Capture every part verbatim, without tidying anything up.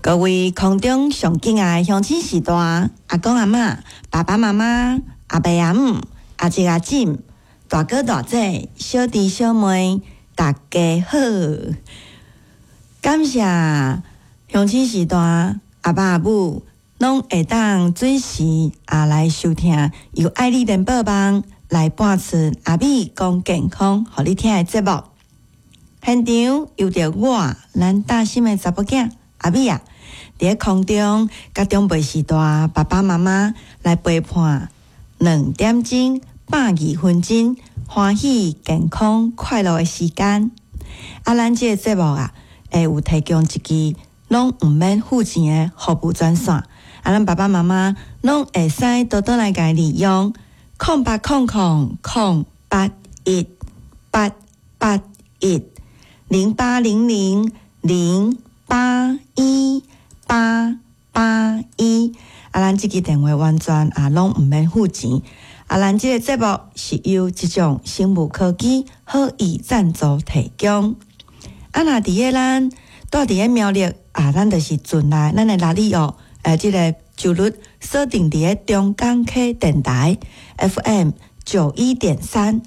各位空中上敬愛的鄉親序大，阿公阿嬤、爸爸媽媽、阿伯阿姆、阿叔阿婶、大哥大姐、小弟小妹，大家好！感謝鄉親序大阿爸阿母攏會當準時啊來收聽由愛麗聯播網來播出阿美講健康，予你聽的節目。現場由著我，咱大心的查某囝阿美啊，佇咧空中佮長輩序大爸爸媽媽來陪伴兩點鐘百二分鐘歡喜、健康、快樂的時間。啊，咱這个節目啊，會有提供一支攏毋免付錢的服務專線。啊，咱爸爸媽媽攏會使多多來共利用，空八空空空八一八八一零八零零零八一八八一。啊，咱這支電話完全啊攏毋免付錢。啊，咱這個節目是由這種生物科技好意贊助提供。啊，若佇咧咱蹛佇咧苗栗啊，咱就是陣來咱的拉里奧，誒，這个頻率鎖定佇咧中港溪電台 F M 九一點三，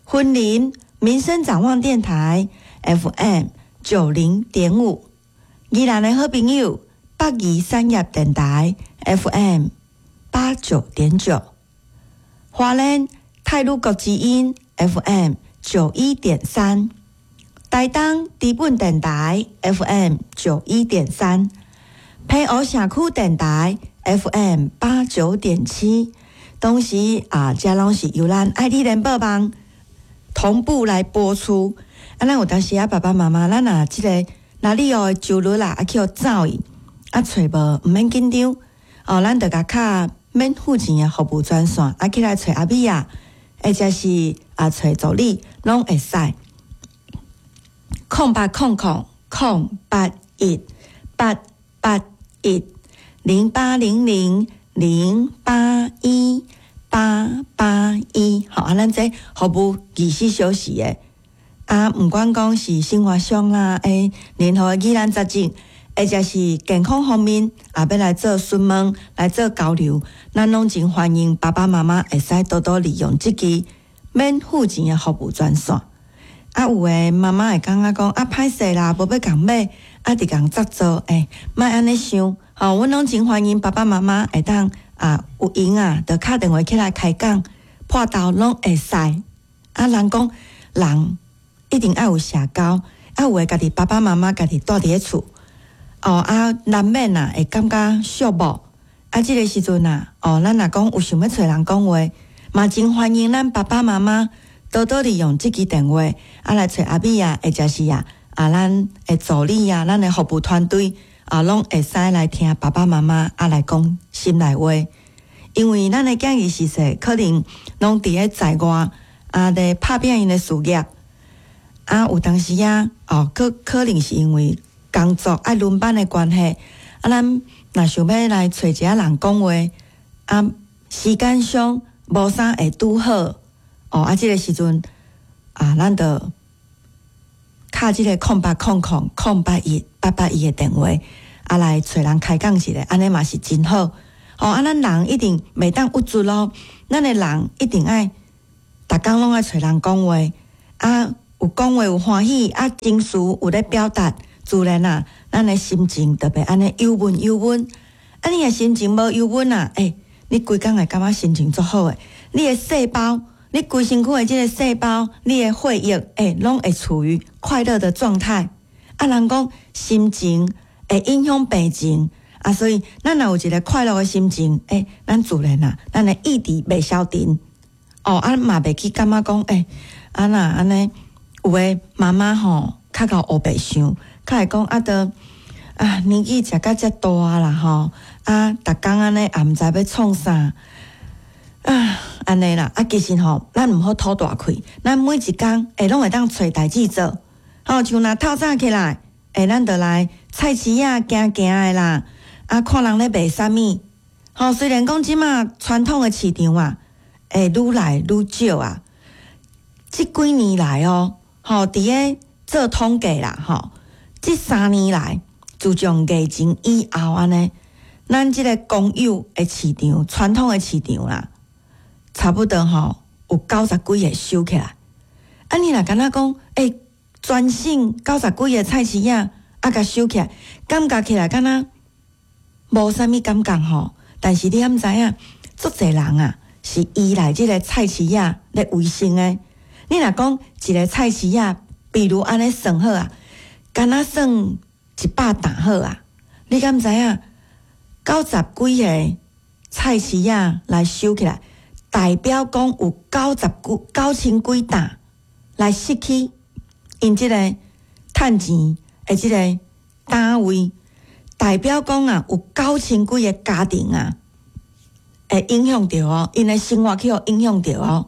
雲林民生展望電台 F M 九零點五，宜蘭的好朋友北宜產業電台 F M 八九點九，花蓮太魯閣之音 F M 九一點三，台東知本電台 F M 九一點三，澎湖社區電台 F M 八九點七，當時啊，這攏是由咱愛麗聯播網同步來播出。啊，咱有當時啊，爸爸媽媽，咱若這个哪里哦就率啦，啊去予走去，啊揣無，毋免緊張。哦，咱就共敲免付錢的服務專線，啊起來揣阿美啊，或者是啊揣助理，攏會使。空八空空空八一八八一零八零零零八一八八一，好，啊，咱這服務二十四小時的，啊，毋管講是生活上啦，欸，任何的疑難雜症，或者是健康方面，啊，欲來做詢問、來做交流，咱攏真歡迎爸爸媽媽會使多多利用這支免付錢的服務專線。啊，有的媽媽會感覺講啊，歹勢啦，無欲共買，啊，直共執做，欸，莫按呢想，吼，阮攏真歡迎爸爸媽媽會當啊有閒啊，就敲電話起來開講，破頭攏會使。啊，人講人一定愛有社交，啊，有的家己爸爸媽媽家己蹛佇咧厝，哦啊，難免啊會感覺寂寞。啊，這个時陣啊，哦，咱若講有想欲揣人講話，嘛真歡迎咱爸爸媽媽多多利用這支電話，啊來揣阿美啊，或者是啊啊咱的助理啊，咱的服務團隊啊，攏會使來聽爸爸媽媽啊來講心內話。因為咱的囝兒時細，可能攏佇咧在外啊，咧拍拚𪜶的事業，啊有當時啊，哦，可可能是因為工作愛輪班的關係，啊，咱若想欲來揣一下人講話，啊，時間上無啥會拄好，哦，啊，這个時陣啊，咱就敲這个空八空空空八一八八一的電話，啊，來揣人開講一下，按呢嘛是真好。哦，啊，咱人一定袂當鬱卒咯，咱的人一定愛，逐工攏愛揣人講話，啊，有講話有歡喜，啊，情緒有咧表達，自然啊，咱的心情就會按呢憂悶憂悶。啊，你若心情無憂悶啊，欸，你規工會感覺心情足好的，你的細胞，你規身軀的這个細胞，你的血液，欸，攏會處於快樂的狀態。啊，人講心情會影響病情。啊，所以咱若有一个快樂的心情，欸，咱自然啊，咱的意志袂消沉。哦，啊嘛袂去感覺講，欸，啊若按呢，有的媽媽吼，較𠢕烏白想，較會講啊，都啊年紀食甲遮大啦吼，啊，逐工按呢也毋知欲創啥，啊，按呢啦，啊，其實吼，咱毋好吐大氣，咱每一工會攏會當揣代誌做，吼，像若透早起來，欸，咱就來菜市仔行行的啦。啊，看人咧賣啥物，吼，雖然講這馬傳統的市場啊，會愈來愈少啊。這幾年來哦，吼，佇咧做統計啦，吼，這三年來，自從疫情以後按呢，咱這个公有的市場，傳統的市場啦，差不多吼有九十幾个收起來。啊，你若敢若講，欸，全省九十幾个菜市仔啊，共收起來，感覺起來敢若無啥物感覺吼。但是你敢知影，足濟人啊是依賴這个菜市仔咧維生的。你若講一个菜市仔，比如按呢算好啊，敢若算一百擔好啊，你敢知影？九十幾个菜市仔來收起來，代表講有九十幾九千幾擔來失去𪜶這个趁錢的這个單位，代表講啊，有九千幾个家庭啊，會影響著哦，𪜶的生活去予影響著哦。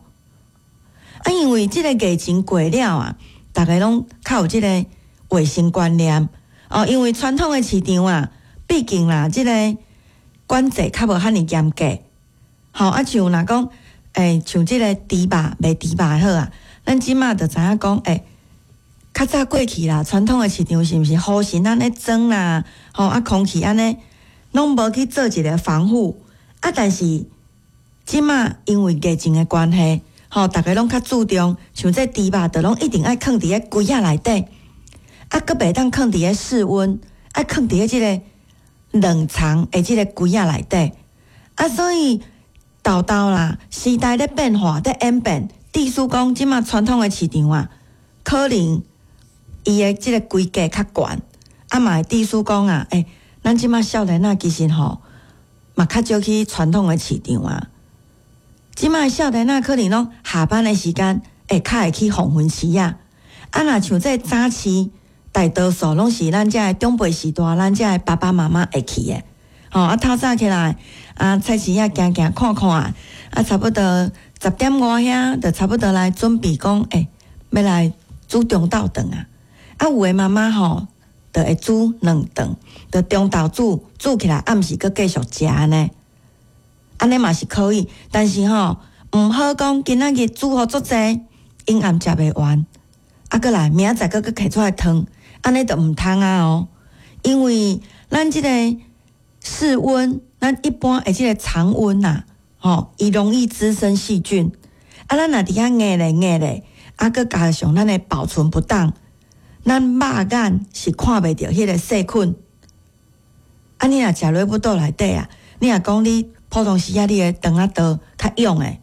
啊，因為這个疫情過了啊，逐家攏較有這个衛生觀念哦，因為傳統的市場啊，畢竟啦，這个管制較無遐爾嚴格，吼啊，像若講，欸，像這个豬肉賣豬肉好啊，咱這馬就知影講，欸，較早過去啦，傳統的市場是毋是雨神按呢裝啦，吼啊，空氣按呢攏無去做一个防護啊，但是這馬因為疫情的關係，吼，逐家攏較注重，像這豬肉，就攏一定愛囥佇咧櫃仔內底，啊，閣袂當囥佇咧室溫，愛囥佇咧這个冷藏的這个櫃仔內底，啊，所以沓沓啦，時代咧變化，咧演變，意思講，這馬傳統的市場啊，可能伊的這个規格較懸，啊嘛會意思講啊，欸，咱這馬少年仔其實吼，嘛較少去傳統的市場啊。這馬少年仔可能攏下班的時間會較會去黃昏市啊。啊，若像這早市，大多數攏是咱遮的長輩時代，咱遮的爸爸媽媽會去的。吼，啊，透早起來，啊，菜市仔行行看看，啊，差不多十點外遐，就差不多來準備講，欸，欲來煮中晝頓啊。啊，有的媽媽吼，就會煮兩頓，就中晝煮，煮起來暗時閣繼續食按呢。按呢嘛是可以，但是吼，毋好講今仔日煮予足濟，𪜶暗食袂完，啊，閣來明仔載閣閣提出來燙，按呢就毋通啊哦。因為咱這個室溫，咱一般的這个常溫呐，吼，伊容易滋生細菌。啊，咱若佇遐壓咧壓咧，啊，閣加上咱的保存不當，咱肉眼是看袂著彼个細菌。啊，你若食落肚內底啊，你若講你普通時仔你的腸仔道較勇的，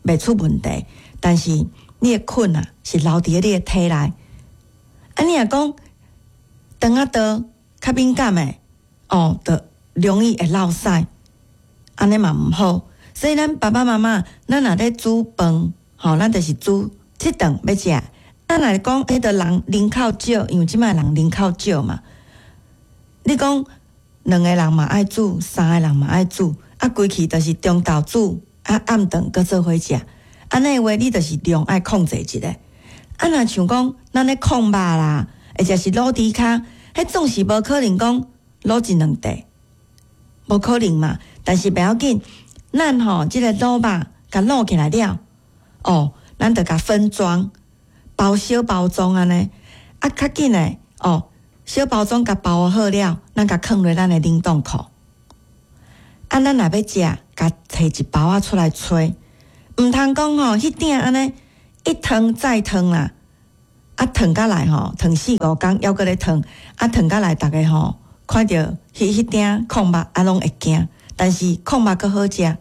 袂出問題。但是你的菌啊，是留佇咧你的體內。啊，你若講腸仔道較敏感的，哦，就容易會落屎，按呢嘛毋好。所以咱爸爸媽媽，咱若咧煮飯，吼，咱就是煮這頓欲食。咱若講彼个人人口少，因為這擺人人口少嘛。你講兩个人嘛愛煮，三个人嘛愛煮，啊，規氣就是中晝煮，啊，暗頓閣做伙食。按呢話，你就是量愛控制一下。啊，若像講咱咧炕肉啦，或者是滷豬跤，彼總是無可能講滷一兩塊，無可能嘛。但是袂要緊，咱吼這个滷肉共滷起來了，哦，咱就共分裝，包小包裝按呢，啊，較緊的哦，小包裝共包好了，咱共囥佇咱的冷凍庫。啊，咱若欲食，共提一包仔出來吹，毋通講吼，彼鼎按呢一燙再燙啦，啊，燙甲來吼，燙四五工，猶閣咧燙，啊，燙甲來，逐家吼看著彼彼鼎炕肉，啊，攏會驚。但是炕肉閣好食，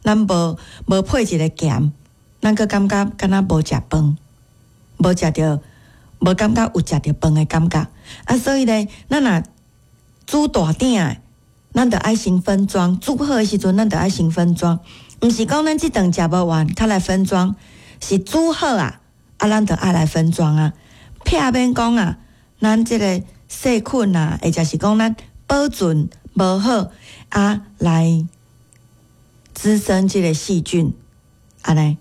咱無無配一个鹹，咱閣感覺敢若無食飯，無食著，無感覺有食著飯的感覺。啊，所以咧，咱若煮大鼎的，咱著愛先分裝，煮好的時陣，咱著愛先分裝，毋是講咱這頓食無完，才來分裝，是煮好啊，啊，咱著愛來分裝啊，避免講啊，咱這个細菌啊，或者是講咱保存無好啊，來滋生這个細菌，按呢，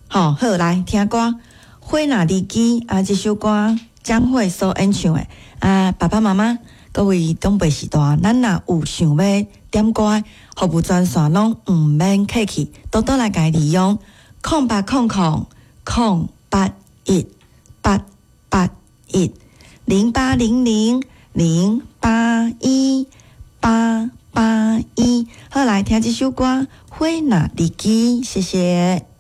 吼，好，來聽歌，《花若離枝》啊，這首歌江蕙所演唱的啊，爸爸媽媽，各位長輩時代，咱若有想欲點歌，服務專線攏毋免客氣，多多來共利用空八空空空八一八八一零八零零零八一八八一。好，來聽這首歌《花若離枝》，謝謝。